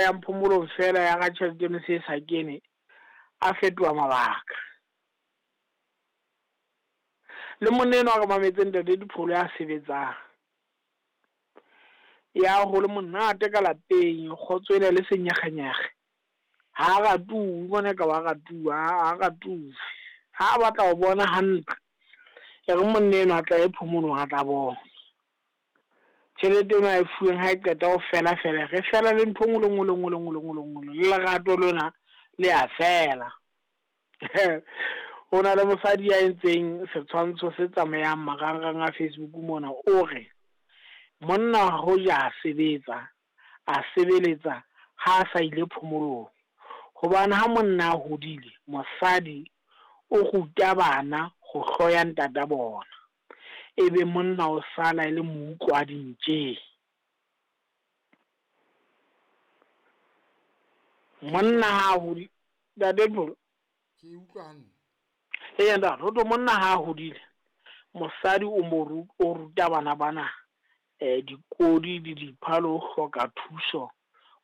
Yang phomolong feela ya ga tšhelete eno se e sa kene, a fetoha mabaka. Le monna enwa a re mametse ntate Dipholo ya sebetsang. Ya ho le monate ka lapeng, kgotso ena le senyekgenyekge. Ha a ratuwe, bona ka wa ratuwa, ha a ratuwe. Ha a batla ho bona hantle, e re monna enwa a tla ye phomolong a tla bona. Tjhelete ena a e fuweng ha e qeta ho fela fela, re fela le ntho e nngwe le nngwe le nngwe le nngwe le nngwe le nngwe. Le lerato lona le a fela. Ho na le mosadi ya entseng setshwantsho se tsamayang marangrang a Facebook mona, o re monna hoja a sebetsa, a sebeletsa ha a sa ile phomolong. Hobane ha monna a hodile, mosadi o ruta bana ho hloya ntata bona. Ebe monna o sala e le moutlwa dintjeng. Monna ha hodile, ntate Pholo. Ke utlwa hantle. Eya ntate, ho thwe monna ha hodile, mosadi o mo o ruta bana bana dikodi le dipha le ho hloka thuso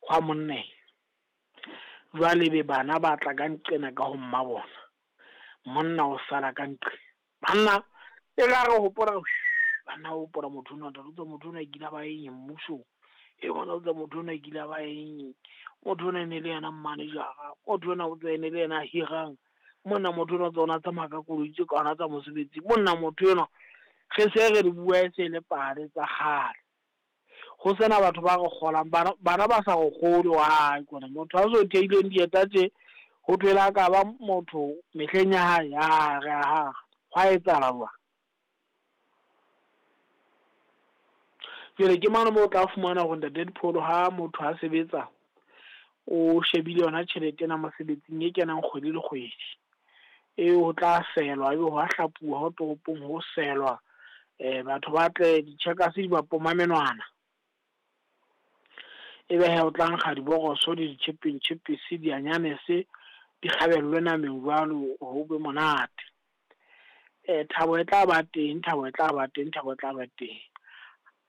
hwa monna. Jwale be bana ba tla ka nqena ka ho mma bona. Monna o sala ka nqe. Banna e ra re hopola banna o hopola motho ona ntate, motho ona kile ba eng mmusong. E bona o motho ona kile ba eng. Motho ona e ne le yena manager-a, motho ona o tswa ne le yena a hirang. Monna motho ona o tswa tsamaya ka koloi tse kana tsa mosebetsi. Monna motho enwa re se re di bua e se le pale tsa kgale. Ho sena batho ba re kgolang, bana ba sa re kgolwe wa kona motho a so theileng dieta tje ho thwe la ka ba motho mehleng ya hae, a re aha hwa etsahala jwang. Jwale ke mane moo o tla fumana hore ntate Dipholo ha motho a sebetsa o shebile yona tjhelete ena mosebetsing e kenang kgwedi le kgwedi. E ho tla selwa, ebe ho a hlapuwa ho toropong ho selwa. Batho ba tle di-checkers di ba poma menwana. Ebe he o tla nkga diboroso le di-chipping chips, dianyanese di kgabellwe nameng jwalo ho be monate. Thabo e tla ba teng, thabo e tla ba teng, thabo e tla ba teng.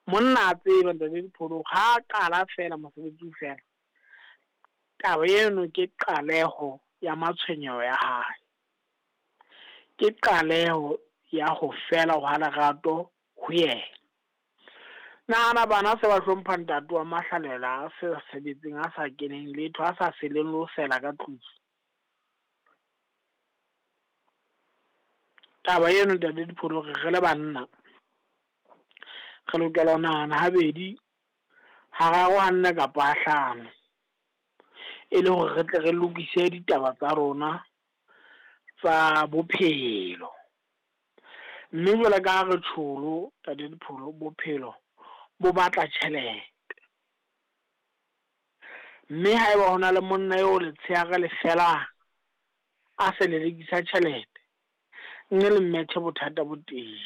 Monna a tseba ntate Dipholo ha a qala fela mosebetsi o fela. Taba eno ke qaleho ya matshwenyeho ya hae. Ke qaleho ya ho fela hwa lerato ho yena. Nahana bana se ba hlompha ntate wa mahlalela a sa sebetseng, a sa keneng letho, a sa seleng le ho sela ka tlung. Taba eno ntate Dipholo re le banna re lokela ho nahana habedi, hararo, ha nne kapa ha hlano. E le hore re tle re lokise ditaba tsa rona tsa bophelo. Mme jwale ka ha re tjholo ntate Dipholo, bophelo bo batla tjhelete. Mme haeba hona le monna eo letshehare le felang a se lelekisa tjhelete, nne le mmethe bothata bo teng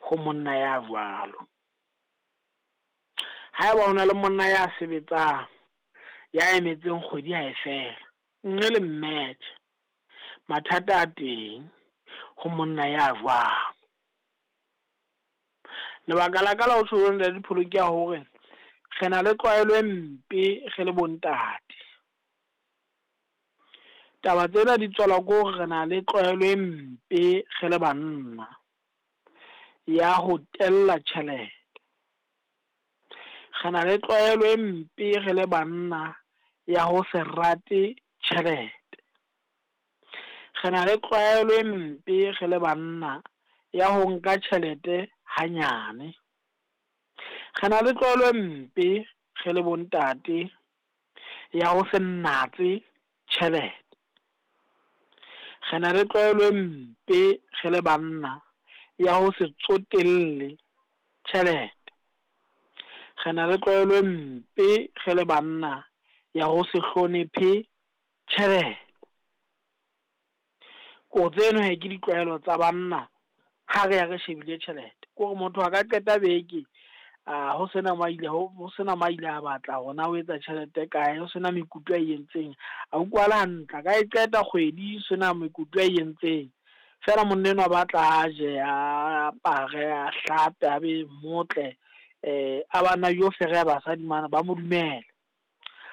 ho monna ya jwalo. Haeba hona le monna ya sebetsang ya emetseng kgwedi ha e fela, nne le mmethe mathata a teng ho monna ya jwalo. Lebaka la ka la ho tjho ntate Dipholo ke ya hore re na le tlwaelo e mpe re le bo ntate. Taba tsena di tswalwa ke hore re na le tlwaelo e mpe re le banna ya ho tella tjhelete. Re na le tlwaelo e mpe re le banna ya ho se rate tjhelete. Re na le tlwaelo e mpe re le banna ya ho nka tjhelete hanyane. Re na le tlwaelo e mpe re le bo ntate ya ho se natse tjhelete. Re na le tlwaelo e mpe re le banna ya ho se tsotelle tjhelete. Re na le tlwaelo e mpe re le banna ya ho se hlonephe tjhelete. Ko tseno he ke ditlwaelo tsa banna ha re ya re shebile tjhelete. Ke hore motho a ka qeta beke ho sena maile ho sena maile a batla hore na o etsa tjhelete kae, ho sena mekutu a e entseng. A utlwala hantle, a ka e qeta kgwedi sena mekutu a e entseng. Feela monna enwa batla a je, a apare, a hlape, a be motle, a bana yo fereha basadi mana ba mo dumele.